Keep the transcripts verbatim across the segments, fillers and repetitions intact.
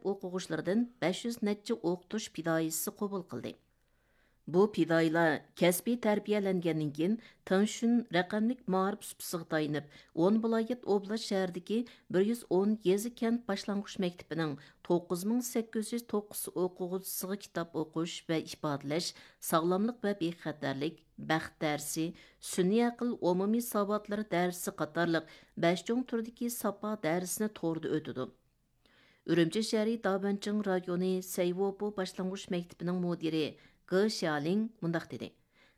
مەكتەپ ئوقۇغۇچىلىرىدىن بەش يۈز نەچچە ئوقۇتۇش پىدائىيسى قوبۇل قىلدى. بۇ پىدائىيلار كەسپىي تەربىيەلەنگەندىن كېيىن، تىڭشۈن رەقەملىك مائارىپ سۇپىسىغا تايىنىپ، ئون ۋىلايەت ئوبلاست شەھىرىدىكى بىر يۈز ئون يېزا كەنت باشلانغۇچ مەكتىپىنىڭ توققۇز مىڭ سەككىز يۈز توققۇز ئوقۇغۇچىسىغا كىتاب ئوقۇش ۋە ئىپادىلەش، ساغلاملىق ۋە بىخەتەرلىك، بەخت دەرسى، سۈنئىي ئەقىل ئومۇمىي ساۋاتلىرى دەرسى قاتارلىق بەش چوڭ تۈردىكى ساپا دەرسىنى توردا ئۆتىدۇ. ئۈرۈمچى شەھىرى دابەنچىڭ رايونى سەيۋوپو باشلانغۇچ مەكتىپىنىڭ مۇدىرى گې شيالىڭ مۇنداق دېدى: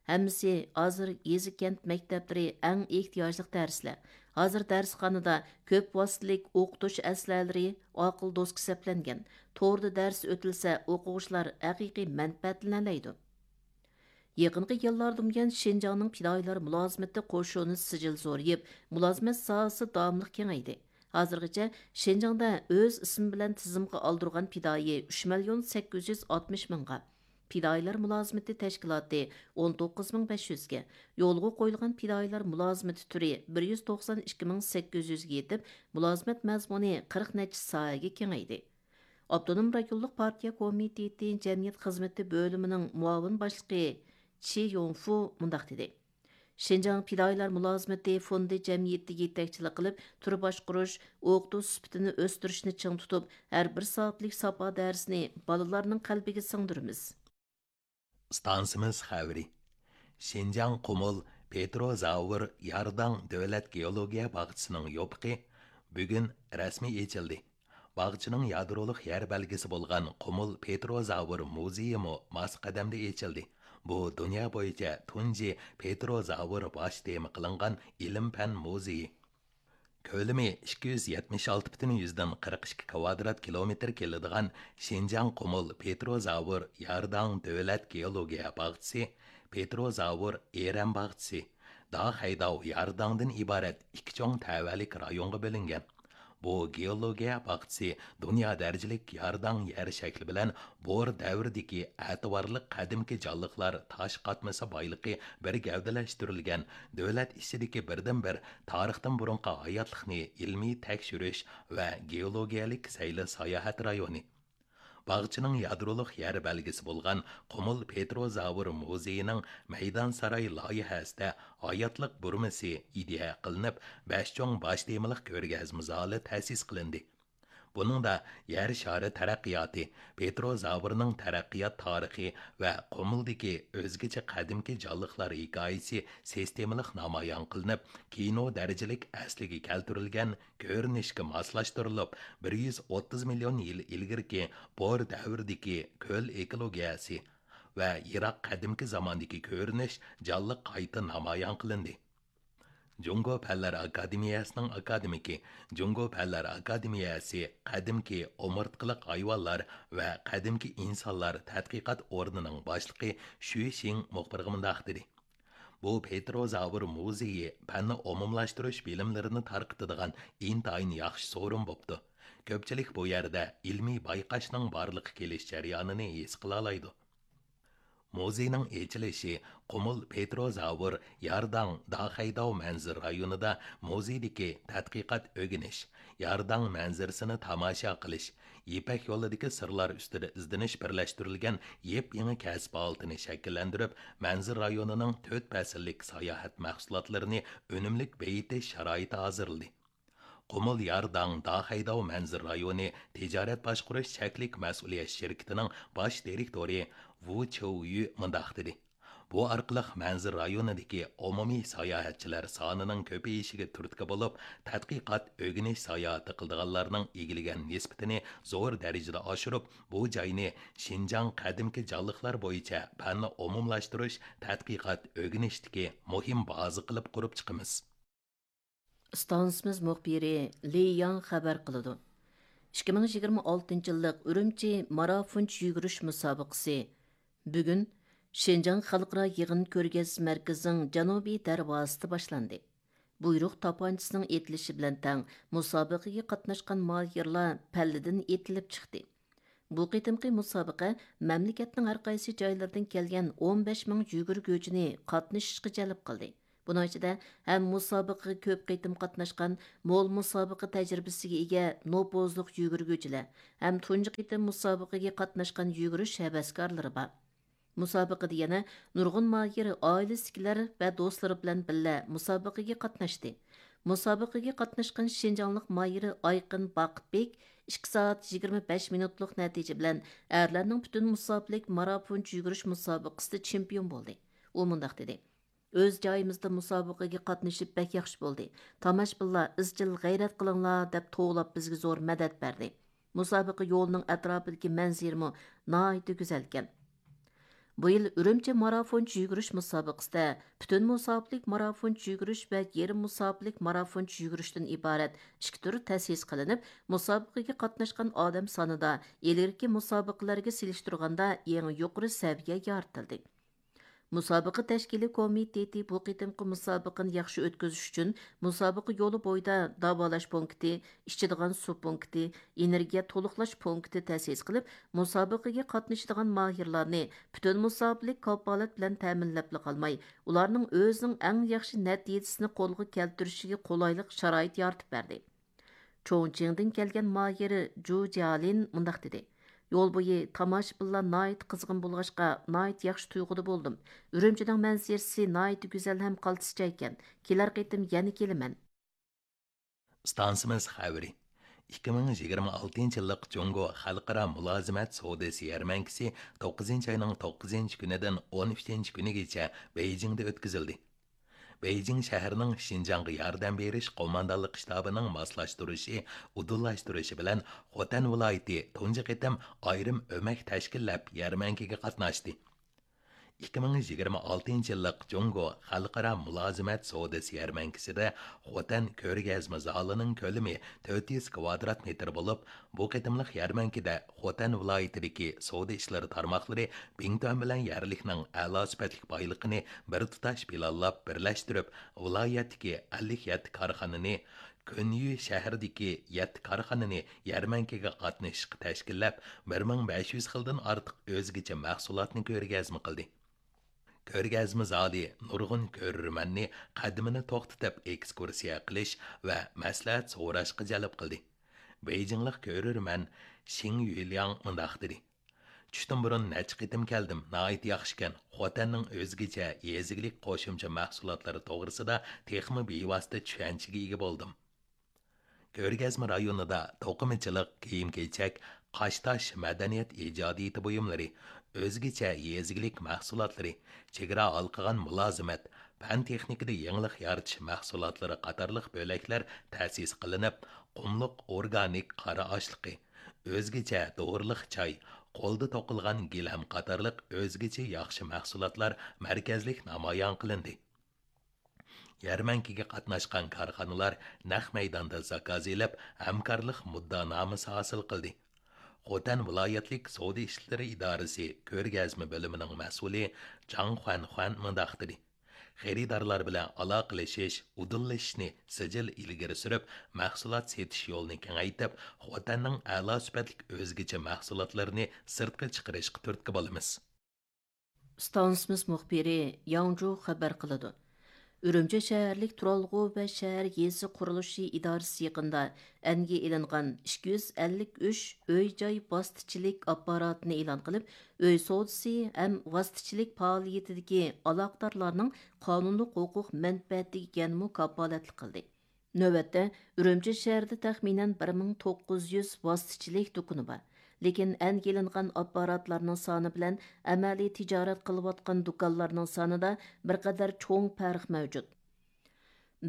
ھەممىسى ھازىر يېزا كەنت مەكتەپلىرى ئەڭ ئېھتىياجلىق دەرسلەر. ھازىر دەرسخانىدا كۆپ ۋاسىتىلىك ئوقۇتۇش ئەسلىھەلىرى، ئاقىل دوسكا سەپلەنگەن. توردا دەرس ئۆتۈلسە، ئوقۇغۇچىلار ھەقىقىي مەنپەئەتلىنەلەيدۇ. يېقىنقى يىللاردا بۇيان شىنجاڭنىڭ پىدائىيلار مۇلازىمىتى قوشۇنى سىجىل زورىيىپ، مۇلازىمەت ساھەسى داۋاملىق كېڭەيدى. ھازىرغىچە شىنجاڭدا ئۆز ئىسمى بىلەن تىزىمغا ئالدۇرغان پىدائىي ئۈچ مىليون سەككىز يۈز ئاتمىش مىڭغا، پىدائىيلار مۇلازىمىتى تەشكىلاتى ئون توققۇز مىڭ بەش يۈزگە، يولغا قويۇلغان پىدائىيلار مۇلازىمىتى تۈرى بىر يۈز توقسان ئىككى مىڭ سەككىز يۈزگە يېتىپ، مۇلازىمەت مەزمۇنى قىرىق نەچچە ساھەگە كېڭەيدى. ئاپتونوم رايونلۇق پارتىيە كومىتېتى جەمئىيەت خىزمىتى بۆلۈمىنىڭ مۇئاۋىن باشلىقى چى يوڭفۇ مۇنداق دېدى: شىنجاڭ پىدائىيلار مۇلازىمىتى فوندى جەمئىيىتى يېتەكچىلىك قىلىپ، تۈر باشقۇرۇش، ئوقۇتۇش سۈپىتىنى ئۆستۈرۈشنى چىڭ تۇتۇپ، ھەر بىر سائەتلىك ساپا دەرسىنى بالىلارنىڭ قەلبىگە سىڭدۈرىمىز. ئىستانسىمىز خەۋىرى. شىنجاڭ قۇمۇل پېتروزاۋر يارداڭ دۆلەت گېئولوگىيە باغچىسىنىڭ يوپۇقى بۈگۈن رەسمىي ئېچىلدى. باغچىنىڭ يادرولۇق يەر بەلگىسى بولغان قۇمۇل پېتروزاۋر مۇزېيىمۇ ماس قەدەمدە ئېچىلدى. بۇ دۇنيا بويىچە تۇنجى پېتروزاۋر باش تېما قىلىنغان ئىلىم-پەن مۇزېيى. كۆلىمى ئىككى يۈز يەتمىش ئالتە پۈتۈن يۈزدىن قىرىق ئىككى كىۋادرات كىلومېتىر كېلىدىغان شىنجاڭ قۇمۇل پېتروزاۋر يارداڭ دۆلەت گېئولوگىيە باغچىسى، پېتروزاۋر ئېرەن باغچىسى، داخەيداۋ يارداڭدىن ئىبارەت ئىككى چوڭ تەۋەلىك رايونغا بۆلۈنگەن. بۇ گېئولوگىيە باغچىسى دۇنيا دەرىجىلىك يارداڭ يەر شەكلى بىلەن بور دەۋرىدىكى ئەتىۋارلىق قەدىمكى جانلىقلار تاش قاتمىسى بايلىقى بىر گەۋدىلەشتۈرۈلگەن دۆلەت ئىچىدىكى بىردىنبىر تارىختىن بۇرۇنقى ھاياتلىقنى ئىلمىي تەكشۈرۈش ۋە گېئولوگىيەلىك سەيلە ساياھەت رايونى. باغچىنىڭ يادرولۇق يەر بەلگىسى بولغان قۇمۇل پېتروزاۋر مۇزېيىنىڭ مەيدانساراي لايىھەسىدە ھاياتلىق بۇرمىسى ئىدىيە قىلىنىپ، بەش چوڭ باش تېمىلىق كۆرگەزمە زالى تەسىس قىلىندى. بۇنىڭدا يەر شارى تەرەققىياتى، پېتروزاۋرنىڭ تەرەققىيات تارىخى ۋە قۇمۇلدىكى ئۆزگىچە قەدىمكى جانلىقلار ھېكايىسى سىستېمىلىق نامايان قىلىنىپ، كىنو دەرىجىلىك ئەسلىگە كەلتۈرۈلگەن كۆرۈنۈشكە ماسلاشتۇرۇلۇپ، بىر يۈز ئوتتۇز مىليون يىل ئىلگىرىكى بور دەۋرىدىكى كۆل ئېكولوگىيەسى ۋە يىراق قەدىمكى زاماندىكى كۆرۈنۈش جانلىق قايتا نامايان قىلىندى. جۇڭگو پەنلەر ئاكادېمىيەسىنىڭ ئاكادېمىكى، جۇڭگو پەنلەر ئاكادېمىيەسى قەدىمكى ئومۇرتقىلىق ھايۋانلار ۋە قەدىمكى ئىنسانلار تەتقىقات ئورنىنىڭ باشلىقى شۈ شىڭ مۇخبىرغا مۇنداق دېدى: بۇ پېتروزاۋر مۇزېيى پەننى ئومۇملاشتۇرۇش بىلىملىرىنى تارقىتىدىغان ئىنتايىن ياخشى سورۇن بوپتۇ. كۆپچىلىك بۇ يەردە ئىلمىي بايقاشنىڭ بارلىققا كېلىش جەريانىنى ھېس قىلالايدۇ. مۇزېينىڭ ئېچىلىشى قۇمۇل پېتروزاۋر يارداڭ داخەيداۋ مەنزىرە رايونىدا مۇزېيدىكى تەتقىقات ئۆگىنىش، يارداڭ مەنزىرىسىنى تاماشا قىلىش، يىپەك يولىدىكى سىرلار ئۈستىدە ئىزدىنىش بىرلەشتۈرۈلگەن يېپيېڭى كەسىپ ھالىتىنى شەكىللەندۈرۈپ، مەنزىرە رايونىنىڭ تۆت پەسىللىك ساياھەت مەھسۇلاتلىرىنى ئۈنۈملۈك بېيىتىش شارائىتى ھازىرلىدى. قۇمۇل يارداڭ داخەيداۋ مەنزىرە رايونى تىجارەت باشقۇرۇش چەكلىك مەسئۇلىيەت شىركىتىنىڭ باش دىرېكتورى ۋۇ چيۇيۈ مۇنداق دېدى: بۇ ئارقىلىق مەنزىرە رايونىدىكى ئومۇمىي ساياھەتچىلەر سانىنىڭ كۆپىيىشىگە تۈرتكە بولۇپ، تەتقىقات، ئۆگىنىش ساياھىتى قىلىدىغانلارنىڭ ئىگىلىگەن نىسبىتىنى زور دەرىجىدە ئاشۇرۇپ، بۇ جاينى شىنجاڭ قەدىمكى جانلىقلار بويىچە پەننى ئومۇملاشتۇرۇش، تەتقىقات، ئۆگىنىشتىكى مۇھىم بازا قىلىپ قۇرۇپ چىقىمىز. ئىستانسىمىز مۇخبىرى لى ياڭ خەۋەر قىلىدۇ. ئىككى مىڭ يىگىرمە ئالتىنچى يىللىق ئۈرۈمچى مارافونچە يۈگۈرۈش مۇسابىقىسى بۈگۈن شىنجاڭ خەلقئارا يىغىن كۆرگەزمە مەركىزىنىڭ جەنۇبىي دەرۋازىسىدا باشلاندى. بۇيرۇق تاپانچىسىنىڭ ئېتىلىشى بىلەن تەڭ مۇسابىقىگە قاتناشقان ماھىرلار پەللىدىن ئېتىلىپ چىقتى. بۇ قېتىمقى مۇسابىقە مەملىكەتنىڭ ھەر قايسى جايلىرىدىن كەلگەن ئون بەش مىڭ يۈگۈرگۈچىنى قاتنىشىشقا جەلپ قىلدى. بۇنىڭ ئىچىدە ھەم مۇسابىقىگە كۆپ قېتىم قاتناشقان، مول مۇسابىقە تەجرىبىسىگە ئىگە نوپۇزلۇق يۈگۈرگۈچىلەر، ھەم تۇنجى قېتىم مۇسابىقىگە قاتناشقان يۈگۈرۈش ھەۋەسكارلىرى بار. مۇسابىقىدە يەنە نۇرغۇن ماھىر ئائىلىسىدىكىلەر ۋە دوستلىرى بىلەن بىللە مۇسابىقىگە قاتناشتى. مۇسابىقىگە قاتناشقان شىنجاڭلىق ماھىر ئايقىن باقىتبېك ئىككى سائەت يىگىرمە بەش مىنۇتلۇق نەتىجە بىلەن ئەرلەرنىڭ پۈتۈن مۇساپىلىك مارافونچە يۈگۈرۈش مۇسابىقىسىدە چېمپىيون بولدى. ئۇ مۇنداق دېدى: ئۆز جايىمىزدا مۇسابىقىگە قاتنىشىپ بەك ياخشى بولدى. تاماشىبىنلار ئىزچىل غەيرەت قىلىڭلار دەپ توۋلاپ بىزگە زور مەدەت بەردى. مۇسابىقە يولىنىڭ ئەتراپىدىكى مەنزىرىمۇ ناھايىتى گۈزەلكەن. بۇ يىل ئۈرۈمچى مارافونچە يۈگۈرۈش مۇسابىقىسىدە پۈتۈن مۇساپىلىك مارافونچە يۈگۈرۈش ۋە يېرىم مۇساپىلىك مارافونچە يۈگۈرۈشتىن ئىبارەت ئىككى تۈر تەسىس قىلىنىپ، مۇسابىقىگە قاتناشقان ئادەم سانىدا ئىلگىرىكى مۇسابىقىلەرگە سېلىشتۇرغاندا يېڭى يۇقىرى سەۋىيە يارىتىلدى. مۇسابىقە تەشكىلىي كومىتېتى بۇ قېتىمقى مۇسابىقىنى ياخشى ئۆتكۈزۈش ئۈچۈن مۇسابىقە يولى بويىدا داۋالاش پونكىتى، ئىچىدىغان سۇ پونكىتى، ئېنېرگىيە تولۇقلاش پونكىتى تەسىس قىلىپ، مۇسابىقىگە قاتنىشىدىغان ماھىرلارنى پۈتۈن مۇساپىلىك كاپالەت بىلەن تەمىنلەپلا قالماي، ئۇلارنىڭ ئۆزىنىڭ ئەڭ ياخشى نەتىجىسىنى قولغا كەلتۈرۈشىگە قولايلىق شارائىت يارىتىپ بەردى. چوڭجىڭدىن كەلگەن ماھىر جۇ جيالىن مۇنداق دېدى: يول بويى تاماشىبىنلار ناھايىتى قىزغىن بولغاچقا، ناھايىتى ياخشى تۇيغۇدا بولدۇم. ئۈرۈمچىنىڭ مەنزىرىسى ناھايىتى گۈزەل ھەم قالتىسچە ئىكەن. كېلەر قېتىم يەنە كېلىمەن. ئىستانسىمىز خەۋىرى. ئىككى مىڭ يىگىرمە ئالتىنچى يىللىق جۇڭگو خەلقئارا مۇلازىمەت سودىسى يەرمەنكىسى توققۇزىنچى ئاينىڭ توققۇزىنچى كۈنىدىن ئون ئۈچىنچى كۈنىگىچە بېيجىڭدا ئۆتكۈزۈلدى. بېيجىڭ شەھىرىنىڭ شىنجاڭغا ياردەم بېرىش قوماندانلىق شتابىنىڭ ماسلاشتۇرۇشى، ئۇدۇللاشتۇرۇشى بىلەن خوتەن ۋىلايىتى تۇنجى قېتىم ئايرىم ئۆمەك تەشكىللەپ يەرمەنكىگە قاتناشتى. ئىككى مىڭ يىگىرمە ئالتىنچى يىللىق جۇڭگو خەلقئارا مۇلازىمەت سودىسى يەرمەنكىسىدە خوتەن كۆرگەزمە زالىنىڭ كۆلىمى تۆت يۈز كۋادرات مېتىر بولۇپ، بۇ قېتىملىق يەرمەنكىدە خوتەن ۋىلايىتىدىكى سودا ئىشلىرى تارماقلىرى بىڭتۈەن بىلەن يەرلىكنىڭ ئەلا سۈپەتلىك بايلىقىنى بىر تۇتاش پىلانلاپ بىرلەشتۈرۈپ، ۋىلايەتتىكى ئەللىك يەتتە كارخانىنى، كۆنيۈ شەھىرىدىكى يەتتە كارخانىنى يەرمەنكىگە قاتنىشىشقا تەشكىللەپ، بىر مىڭ بەش يۈز خىلدىن ئارتۇق ئۆزگىچە مەھسۇلاتنى كۆرگەزمە قىلدى. كۆرگەزمە زالى نۇرغۇن كۆرۈرمەننى قەدىمىنى توختىتىپ ئېكسكۇرسىيە قىلىش ۋە مەسلىھەت سوراشقا جەلپ قىلدى. بېيجىڭلىق كۆرۈرمەن شىڭ يۈلياڭ مۇنداق دېدى: چۈشتىن بۇرۇن نەچچە قېتىم كەلدىم، ناھايىتى ياخشىكەن. خوتەننىڭ ئۆزگىچە يېزا ئىگىلىك قوشۇمچە مەھسۇلاتلىرى توغرىسىدا تېخىمۇ بىۋاسىتە چۈشەنچىگە ئىگە بولدۇم. كۆرگەزمە رايونىدا توقۇمىچىلىق، كىيىم-كېچەك، قاشتاش، مەدەنىيەت ئىجادىيىتى بۇيۇملىرى، ئۆزگىچە يېزا ئىگىلىك مەھسۇلاتلىرى، چېگرا ھالقىغان مۇلازىمەت، پەن تېخنىكىدا يېڭىلىق يارىتىش مەھسۇلاتلىرى قاتارلىق بۆلەكلەر تەسىس قىلىنىپ، قۇملۇق ئورگانىك قارا ئاشلىقى، ئۆزگىچە دورىلىق چاي، قولدا توقۇلغان گىلەم قاتارلىق ئۆزگىچە ياخشى مەھسۇلاتلار مەركەزلىك نامايان قىلىندى. يەرمەنكىگە قاتناشقان كارخانىلار نەق مەيداندا زاكاز ئېلىپ، ھەمكارلىق مۇددىئانامىسى ھاسىل قىلدى. خوتەن ۋىلايەتلىك سودا ئىشلىرى ئىدارىسى كۆرگەزمە بۆلۈمىنىڭ مەسئۇلى جاڭ خۇەنخۇەن مۇنداق دېدى: خېرىدارلار بىلەن ئالاقىلىشىش، ئۇدۇللىشىشنى سىجىل ئىلگىرى سۈرۈپ، مەھسۇلات سېتىش يولىنى كېڭەيتىپ، خوتەننىڭ ئەلا سۈپەتلىك ئۆزگىچە مەھسۇلاتلىرىنى سىرتقا چىقىرىشقا تۈرتكە بولىمىز. ئىستانسىمىز مۇخبىرى ياڭجۇ خەۋەر قىلىدۇ. ئۈرۈمچى شەھەرلىك تۇرالغۇ ۋە شەھەر يېزا قۇرۇلۇشى ئىدارىسى يېقىندا ئەنگە ئېلىنغان ئىككى يۈز ئەللىك ئۈچ ئۆي-جاي ۋاسىتىچىلىك ئاپپاراتىنى ئېلان قىلىپ، ئۆي سودىسى ھەم ۋاسىتىچىلىك پائالىيىتىدىكى ئالاقىدارلارنىڭ قانۇنلۇق ھوقۇق مەنپەئەتىگە يەنىمۇ كاپالەتلىك قىلدى. نۆۋەتتە، ئۈرۈمچى شەھىرىدە تەخمىنەن بىر مىڭ توققۇز يۈز ۋاسىتىچىلىك دۇكىنى بار. لېكىن ئەنگە ئېلىنغان ئاپپاراتلارنىڭ سانى بىلەن ئەمەلىي تىجارەت قىلىۋاتقان دۇكانلارنىڭ سانىدا بىر قەدەر چوڭ پەرق مەۋجۇت.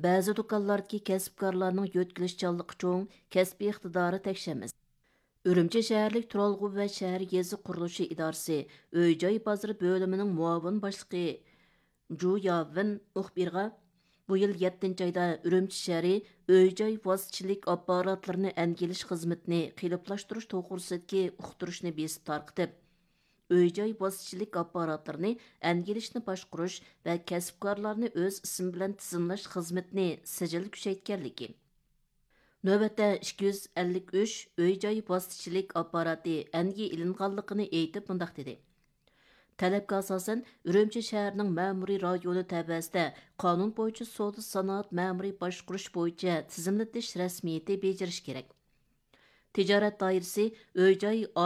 بەزى دۇكانلاردىكى كەسىپكارلارنىڭ يۆتكىلىشچانلىقى چوڭ، كەسپىي ئىقتىدارى تەكشى ئەمەس. ئۈرۈمچى شەھەرلىك تۇرالغۇ ۋە شەھەر يېزا قۇرۇلۇشى ئىدارىسى ئۆي-جاي بازىرى بۆلۈمىنىڭ مۇئاۋىن باشلىقى جۇ ياۋېن مۇخبىرغا، بۇ يىل يەتتىنچى ئايدا ئۈرۈمچى شەھىرى ئۆي-جاي ۋاسىتىچىلىك ئاپپاراتلىرىنى ئەنگىلىش خىزمىتىنى قېلىپلاشتۇرۇش توغرىسىدىكى ئۇقتۇرۇشنى بېسىپ تارقىتىپ، ئۆي-جاي ۋاسىتىچىلىك ئاپپاراتلىرىنى ئەنگىلىشنى باشقۇرۇش ۋە كەسىپكارلارنى ئۆز ئىسمى بىلەن تىزىملاش خىزمىتىنى سىجىل كۈچەيتكەنلىكى، نۆۋەتتە ئىككى يۈز ئەللىك ئۈچ ئۆي-جاي ۋاسىتىچىلىك ئاپپاراتى ئەنگە ئېلىنغانلىقىنى ئېيتىپ مۇنداق دېدى: تەلەپكە ئاساسەن، ئۈرۈمچى شەھىرىنىڭ مەمۇرىي رايونى تەۋەسىدە قانۇن بويىچە سودا سانائەت مەمۇرىي باشقۇرۇش بويىچە تىزىملىتىش رەسمىيىتى بېجىرىش كېرەك. تىجارەت دائىرىسى ئۆي جاي